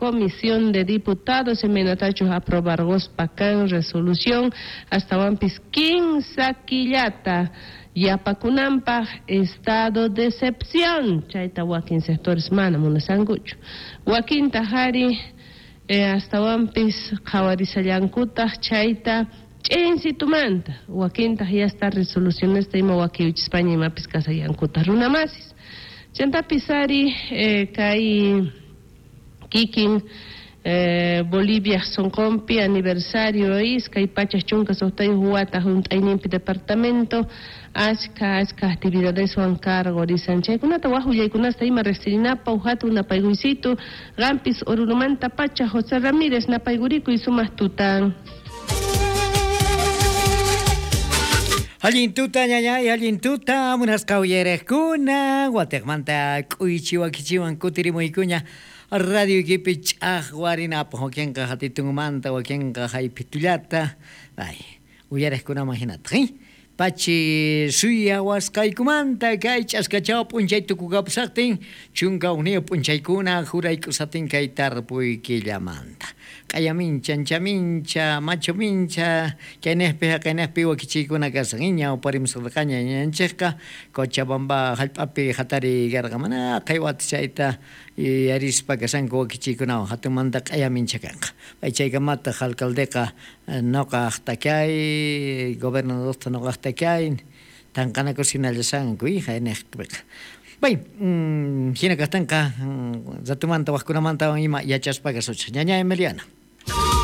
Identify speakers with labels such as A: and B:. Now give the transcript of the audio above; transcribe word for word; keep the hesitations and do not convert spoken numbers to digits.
A: Comisión de Diputados imaynatachus aprobarquspa kan resolución astawanpis kinsa killata yapakunanpaq estado de excepción chayta wakin sectores mana munasankuchu wakintaq ari eh, astawanpis qhawarisallankutaq chayta ch'insitumanta wakintaq ya esta resolucionesta ima wakiwichispaña imapis kasallankutaq runamasis chantapis ari eh, kay kikin eh, Bolivia sonqonpi aniversario iskay pachak chunka suqtayuq wata hunt'ayninpi departamento achka achka actividadeswan cargorisan chaykunata waj willaykunasta ima riqsirinapaq hatun napaykuysitu qampis Orurumanta pacha José Ramírez napaykurikuy sumaq tutan.
B: Allin tuta ñañay, allin tuta, munasqa uyariqkuna, watiqmanta k'uychiwakichiwan kutirimuykuña radio equipi ch'aqwarinapaq wakinqa hatitunmanta wakinqa haypitullata, ay, uyariqkunaman hinataq, eh? Pachi suyawasqaykumanta kay ch'askachaw p'unchay tukukapusaqtin chunka hukniyuq p'unchaykuna jurayk'usatin kay tarpuy killamanta. Q'ayamincha, anchamincha, machumincha, kayniqpi haqayniqpi wakichiykuna kasan, ñawparimusqaña ñañanchikqa Cochabamba hallp'api hatariy karqa mana qhaywata chayta yarispa kasanku wakichiykunawan hatunmanta q'ayamincha kanqa. Pay chaykamataq alcaldeqa nuqaq takay, gobernadorta nuqaq takay, tanqanakus hinallasanku hayniqpiqa. Bay, hina kaqtinqa ratumanta waqkunamantawan ima yachaspa kasuchik. Ñaña Emiliana.